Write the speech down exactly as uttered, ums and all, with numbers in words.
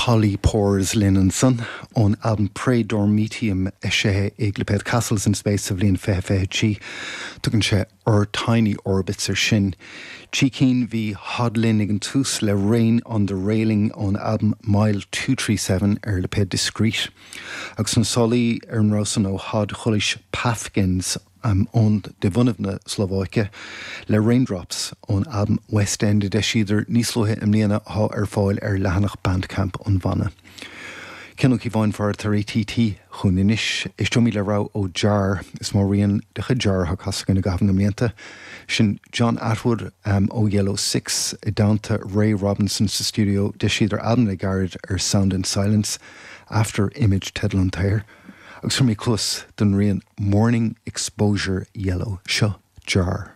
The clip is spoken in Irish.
Polypores linn ansan ón albam Praedormitium eisithe ag lipéad Castles in Space sa bhliain fiche fiche trí. Tugann sé Our Tiny Orbits ar sin. Trí cinn bhí Hod linn ag an tús le Rain on the Railing ón albam Mile two three seven ar lipéad Discreet. Agus na sálaí ar an rogha san ó Hod chualaís Paphkins um, ón de bhunadh na Slóvaice le Raindrops ón albam West End a d'eisíodar níos luaithe i mbliana atá ar fáil ar leathanach Bandcamp an bhanna. Cian Ó Cíobháin far tar ATT chun anois éisteoimid le rogha ó Jar is mó rian de chuid Jar atá casta againn i gcaitheamh na mblianta. Sin John Attwood um, ó Yellow Six i dteannta Ray Robinson sa stiúideo d'eisíodar albam le gairid ar Sound and Silence After Image teideal an tsaothair. Agus tabharfaidh mé cluas don rian Morning Exposure Yellow seo Jar.